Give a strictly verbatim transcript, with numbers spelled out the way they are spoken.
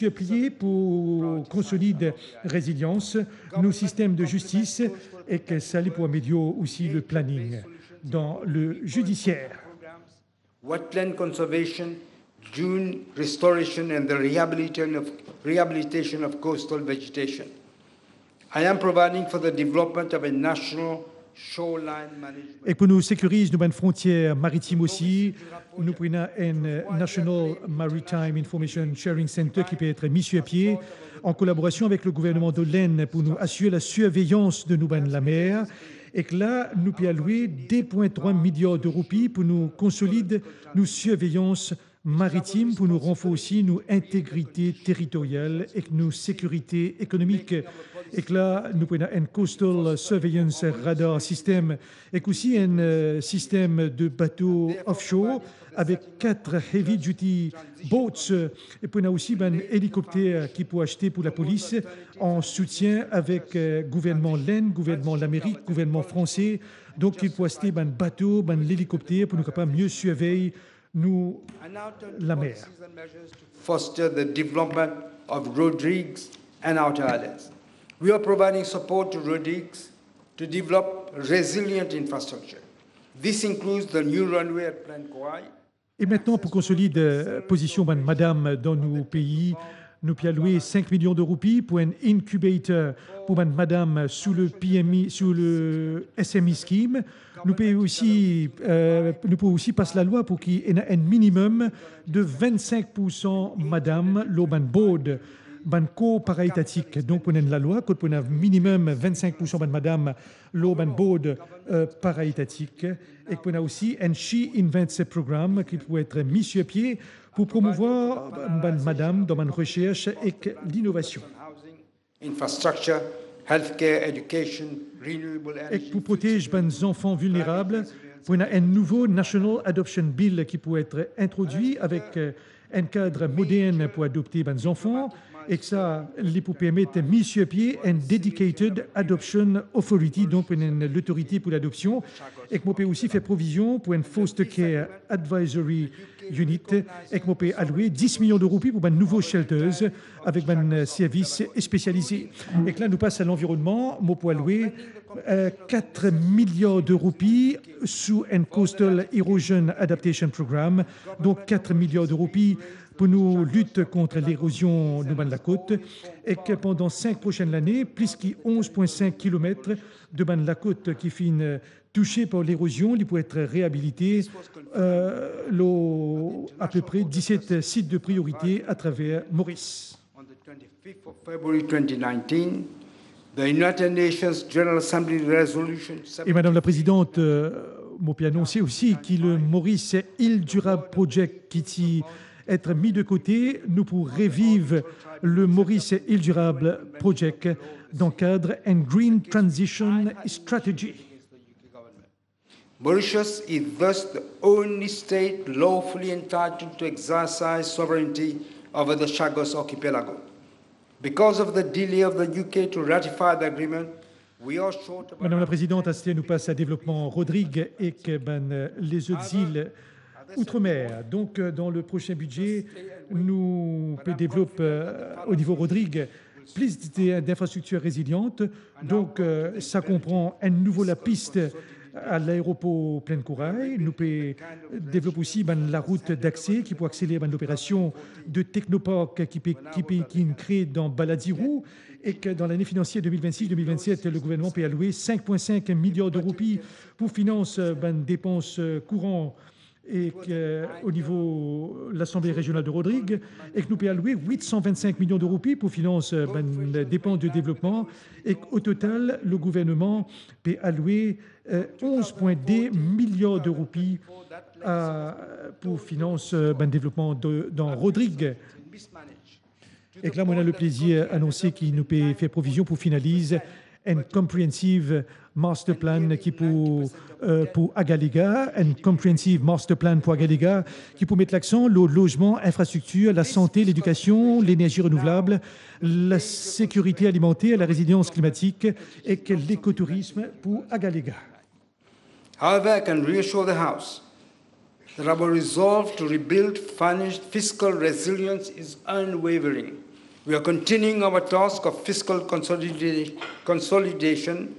Sur pie pou konsolid rezilians nou sistem de zistis ek sa li pou amelior osi le planning dan le judisier. Wetland conservation, dune restoration, and the rehabilitation of, rehabilitation of coastal vegetation. I am providing for the development of a national shoreline management. Ek pou nou sekiriz nou bann frontier maritim osi, nou pou ena enn National Maritime Information Sharing Center ki pe et mis sur pie an kolaborasion avek le gouverneman de l'Inde pou nou asir la surveyans de nou bann lamer. Ek la nou pe alwe de pwin trwa miliar de roupi pou nou konsolid nou surveyans maritim, pou nou ranforsi nou integrite teritoryal ek nou sekirite ekonomik. Ek la nou pou ena enn coastal surveillance radar system ek osi enn sistem de bato offshore avek kat heavy duty boats. E pou ena osi bann elikopter ki pou aste pou lapolis an soutien avek gouvernman Lenn, gouvernman Lamerik, gouvernman Franse. Donk ki pou aste bann bato, bann elikopter pou nou kapav mie survey nou lamer. Foster the development of road rigs and outer islands. We are providing support to road rigs to develop resilient infrastructure. This includes the new runway at Plaine Corail. E mintnan pou konsolid pozision bann madam dan nou pei, nou pe alwe sink milion de roupi pou enn incubator pou bann madam sou le P M E, sou le S M E scheme. Nou pe osi, nou pou osi pas lalwa pou ki ena enn minimum de vinn-sink poursan madam lor bann board, bann kor paraetatik. Donk pou ena enn lalwa kot pou ena minimum vinn-sink poursan bann madam lor bann board paraetatik. Ek pou ena osi enn She Invents program ki pou et mis sur pie pou promouvwar bann madam dan bann resers ek linovasion. Infrastructure, healthcare, education, renewable energy. Ek pou protez bann zanfan vilnerab, pou ena enn nouvo National Adoption Bill ki pou et introdwi avek enn kad modern pou adopte bann zanfan. Ek sa li pou permet mis sur pie enn dedicated adoption authority, donk pou ena enn lotorite pou ladopsion. Ek mo pe osi fer provizion pou enn foster care advisory unit. Ek mo pe alwe dis milion de roupi pou bann nouvo shelters avek bann servis spesialize. Ek la nou pas a lanvironnman, mo pou alwe kat miliar de roupi sou enn coastal erosion adaptation program. Donk kat miliar de roupi pou nou lit kont lerozion nou bann lakot. Ek pandan sink prosenn lane, plis ki onz pwin sink kilomet de bann lakot ki finn touse par lerozion, li pou et reabilite lor apepre diset sit de priorite atraver Moris. On the twenty-fifth of February twenty nineteen, the United Nations General Assembly Resolution. E Madam la Prezidant, mo pe anonse osi ki le Maurice Île Durable Project ki ti et mi de kote, nou pou reviv le Maurice Île Durable Project dan kad enn Green Transition Strategy. Mauritius is thus the only state lawfully entitled to exercise sovereignty over the Chagos Archipelago. Because of the delay of the U K to ratify the agreement, we are short of Madam la Prezidant, aster nou pas a devlopman Rodrig ek bann lezot zil outremer. Donk dan le prosin bidze nou pe devlop o nivo Rodrig plis de, d'infrastriktir reziliant. Donk sa konpran enn nouvo lapis a laeropor Plaine Corail. Nou pe devlop osi bann larout dakse ki pou akseler bann loperasion de technopark ki pe, ki pe, ki inn kre dan Baladirou. Ek dan lane finansier de mil vennsis de mil vennset, le gouvernman pe alwe sink pwin sink miliar de roupi pou finans bann depans kouran ek o nivo Lasanble Rezional de Rodrig, ek nou pe alwe wit san vinn-sink milion de roupi pou finans bann depans de devlopman, ek o total le gouvernman pe alwe onz pwin de miliar de roupi pou finans bann devlopman de, dan Rodrig. Ek la mo ena le plezir anonse ki nou pe fer provizion pou finaliz enn comprehensive master plan ki pou, pou Agalega, enn comprehensive master plan pou Agalega ki pou met laksan lor lozman, infrastriktir, lasante, ledikasion, lenerzi renouvlab, lasekirite alimanter, larezilians klimatik ek lekotourism pou Agalega. However, I can reassure the House that our resolve to rebuild financial fiscal resilience is unwavering. We are continuing our task of fiscal consolida-, consolidation